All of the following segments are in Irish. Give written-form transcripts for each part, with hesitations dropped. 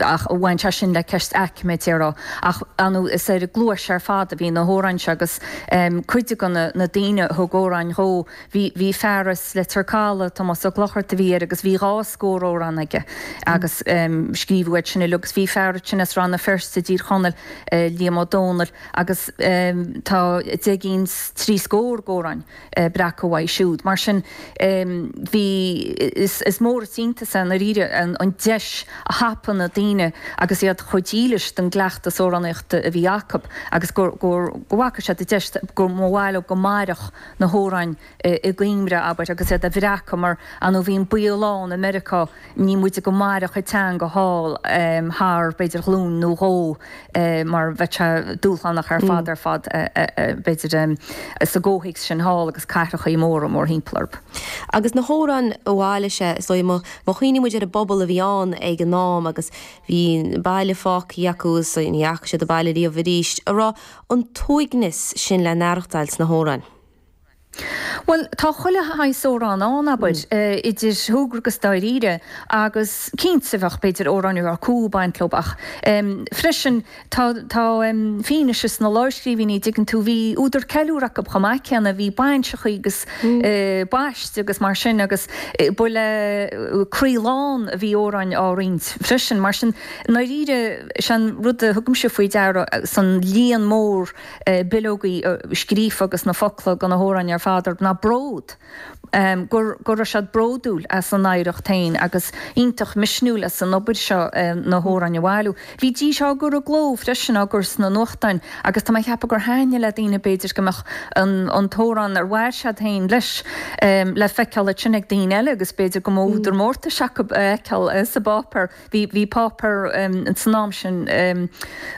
Ach bhain sé sin le ceist aicme, déarfá. Ach ar ndóigh is ar an gcluais ar fad a bhí na hamhráin seo agus cuid de na daoine a thug amhráin dhó, bhí, bhí fear as Leitir Caladh, Tomás Ó Clochartaigh a bhí air agus bhí 2 scór amhrán aige agus scríobhadh iad sin uilig agus bhí fear ansin as Rann na Feirste i dTír Chonaill, Liam Ó Dónaill agus tá 10 gcinn 's 3 scór d'amhráin breactha uaidh siúd. Mar sin, bhí, is mór is iontas é i ndáiríre an deis a thapaigh na daoine agus iad chomh dílis don gcleachtas amhránaíochta a bhí acu agus go bhfaca siad an deis go mba mhaith leo go mairfeadh na hamhráin i gcuimhne, abair, agus iad a bhreacadh mar, ar ndóigh, bhí an baol ann i Meiriceá, ní móide go mairfeadh an teanga thall thar, b'fhéidir, ghlúin nó dhó mar bheadh sé dúshlánach ar fad ar fad, b'fhéidir, sa gcomhthéacs sin thall agus cathrachaí móra mórthimpeall orthu. Agus na hamhráin a bhailigh sé, is dóigh, má chuimhníonn muid ar an bpobal a bhí ann ag an am agus bhí an baile fágtha acu agus ní fhaca siad an baile riamh arís, an raibh an t-uaigneas sin le n-aireachtáil sna hamhráin? Bhuel, tá chuile shaghas amhrán ann, abair, idir shúgradh agus dáiríre, agus cinnte bheadh, b'fhéidir, amhráin a raibh cumha ag baint leo, ach freisin tá, tá fianaise sna lámhscríbhinní, dtuigeann tú, bhí údar ceiliúrtha acu chomh maith céanna, bhí bainseachaí agus baiste agus mar sin agus ba le croí lán a bhí amhráin á roinnt freisin. Mar sin, i ndáiríre, sé an rud a thugaimse faoi deara san líon mór, bileogaí scríofa agus na focla de na hamhráin ar fad orthu ná bród, go raibh siad bródúil as a n-oidhreacht féin agus iontach misniúil as an obair seo na hamhráin a bhailiú. Bhídís á gcur i gcló freisin, á gcur sna nuachtáin agus tá mé ag ceapadh gur thaitnigh le daoine b'fhéidir go mbeadh an t-amhrán ar mhair siad féin leis le feiceáil ansin ag daoine eile agus b'fhéidir go mba údar mórtais acu a fheiceáil sa bpáipéar. Bhí, bhí páipéar san am sin,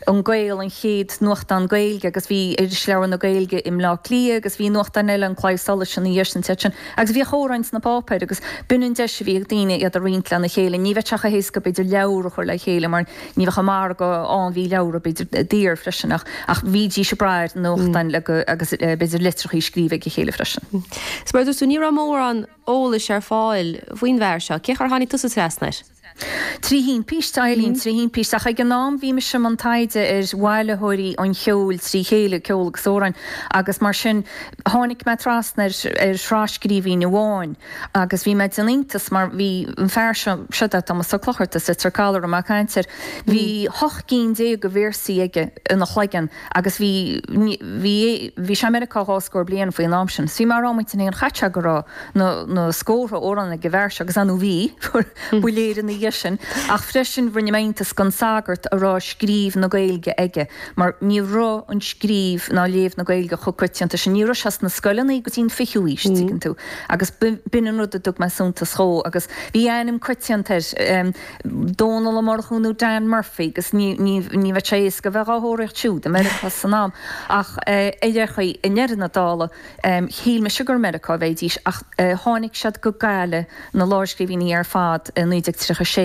An Gael, an chéad nuachtán Gaeilge agus bhí Irisleabhar na Gaeilge i mBleá Cliath agus bhí nuachtáin eile, An Claidheamh Soluis ina dhiaidh sin, iad sin agus bhíodh amhráin sna páipéir agus b'in an deis a bhí ag daoine iad a roinnt lena chéile. Ní bheadh sé chomh héasca b'fhéidir leabhar a chur le chéile mar ní bheadh an margadh ann, bhí leabhra b'fhéidir daor freisin ach, ach bhídís ag brath ar nuachtáin le go, agus b'fhéidir litreachaí scríofa ag a chéile freisin. Is mar a dúirt tú, ní raibh mórán eolais ar fáil faoin bhfear seo. Cén chaoi ar tháinig tusa trasna air? Trí thimpiste, Eileen, trí thimpiste. Ach ag an am bhí mise i mbun taighde ar bhailitheoirí an cheoil trí chéile, ceol agus amhráin, agus mar sin tháinig mé trasna ar ar thras-scríbhinn amháin agus bhí mé ag déanamh iontas mar bhí an fear seo, seo é Tomás Ó Clochartaigh as Leitir Caladh a raibh mé ag caint air, bhí 18 gcinn de véarsaí aige ina chloigeann Agus bhí, bhí, bhí sé i Meiriceá dhá scór bliain faoin am sin. So bhí mé ag rá i m'intinn féin, an chaithfidh sé go raibh na, na scórtha amhrán ag an bhfear seo, agus ar ndóigh bhí, ba léir ina dhiaidh sin. Ach freisin rinne mé iontas den sagart a raibh scríobh na Gaeilge aige, mar ní raibh an scríobh ná léamh na Gaeilge chomh coitianta sin. Ní raibh sé sna scoileanna go dtí an fichiú aois, tuigeann tú. Agus b'in an rud a dtug mé suntas dhó. Agus bhí ainm coitianta air. Dónal Ó Murchú nó Dan Murphy agus ní bheadh sé éasca a bheith dhá thóraíocht siúd i Meiriceá san am ach ar aon chaoi i ndeireadh na dála shíl mise gur i Meiriceá a bheidís ach tháinig siad go Gaillimh na lámhscríbhinní ar fad i 1936.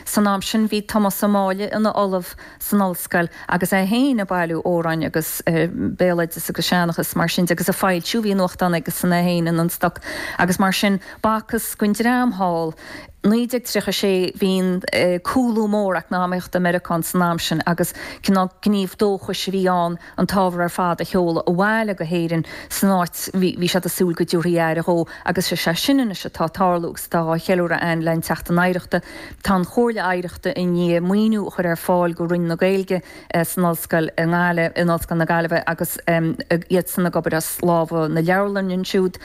San am sin bhí Tomás Ó Máille ina ollamh san ollscoil agus é féin ag bailiú amhráin agus béaloideas agus seanchas mar sin de agus ag foilsiú, bhí nuachtán aigesan é féin in An Stoc agus mar sin b'fhacthas don dream thall 1936, bhí an cúlú mór eacnamaíochta i Meiriceá san am sin agus cineál gníomh dóchais a bhí ann an t-ábhar ar fad a sheoladh abhaile go hÉirinn san áit bhí siad ag súil go dtabharfaí aire dhó agus is é sin anois atá ag tarlú agus atá á cheiliúradh againn le an tSeachtain Oidhreachta. Tá an Chomhairle Oidhreachta i ndiaidh maoiniú a chur ar fáil go Roinn na Gaeilge san Ollscoil i nGaillimh, in Ollscoil na Gaillimhe agus iadsan ag obair as lámha na leabharlainne ansiúd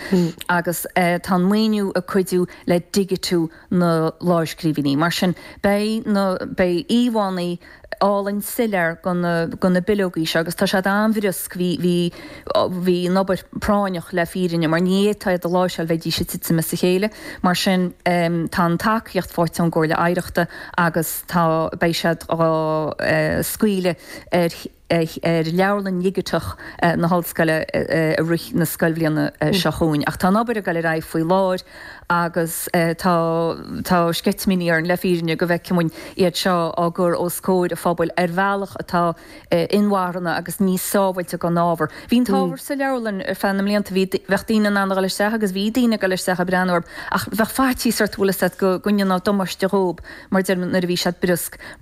agus tá an maoiniú ag cuidiú le digitiú na lámhscríbhinní. Mar sin, beidh na, beidh íomhánna álainn soiléir de na, de na bileogaí seo agus tá siad an-bhriosc, bhí, bhí, bhí an obair práinneach le fírinne mar ní fhéadfá iad a láimhseáil, bheidís ag titim as a chéile. Mar sin, tá an tacaíocht faighte ón gComhairle Oidhreachta agus tá, beidh siad á scaoileadh ar, ar leabharlann dhigiteach na hollscoile i rith na scoilbhliana seo chugainn. Ach tá an obair ag dul ar aghaidh faoi láthair agus tá tá sceitimíní orainn le fírinne go bhfeicfidh muid iad seo á gcur os comhair an phobail ar bhealach atá inmharthana agus níos sábháilte don ábhar. Bhí an t-ábhar sa leabharlann ar feadh na mblianta, bhí bheadh daoine in ann a dhul isteach agus bhí daoine ag dul isteach ag breathnú orthu ach bheadh faitíos ort, bhfuil fhios agat, go go ndéanfá damáiste dhóibh mar a deir nuair a bhí siad briosc.